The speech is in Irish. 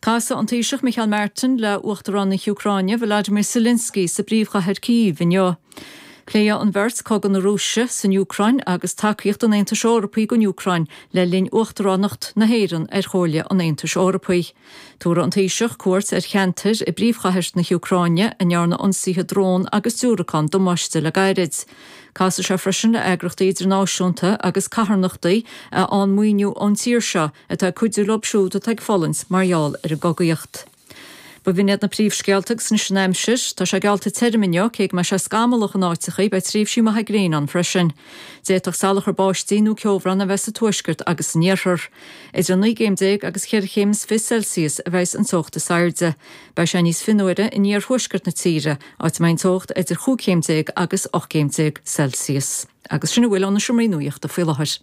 Casfaidh an Taoiseach Micheál Martin le Uachtarán na hÚcráine Volodymyr Zelensky sa bpríomhchathair Kyiv inniu. Pléifidh an bheirt cogadh na Rúise san Úcráin agus tacaíocht an Aontais Eorpaigh don Úcráin le linn Uachtaránacht na hÉireann ar Chomhairle an Aontais Eorpaigh. Tabharfaidh an Taoiseach cuairt ar cheantair i bpríomhchathair na hÚcráine a ndearna ionsaithe drón agus diúracán damáiste le gairid. Casfaidh sé freisin le eagrachtaí idirnáisiúnta agus carthanachtaí a fhaigheann maoiniú ón tír seo atá ag cuidiú leo siúd atá ag fulaingt mar gheall ar an gcogaíocht. B'in iad na príomhscéalta agus anois an aimsir. Tá sé geallta tirim inniu, cé go mbeidh sé scamallach in áiteachaí, beidh tréimhsí maithe gréine ann freisin. D'fhéadfadh salachar báistí nó ceobhrán a bheith sa tuaisceart agus san iarthar. Idir 19 gcéim agus cheithre chéim is fiche Celsius a bheas an teocht is airde. Beidh sé níos fionnuaire in iarthuaisceart na tíre, áit a mbeidh an teocht idir chúig chéim déag agus 18 gcéim Celsius. Agus sin a bhfuil ó na seomraí nuachta faoi láthair.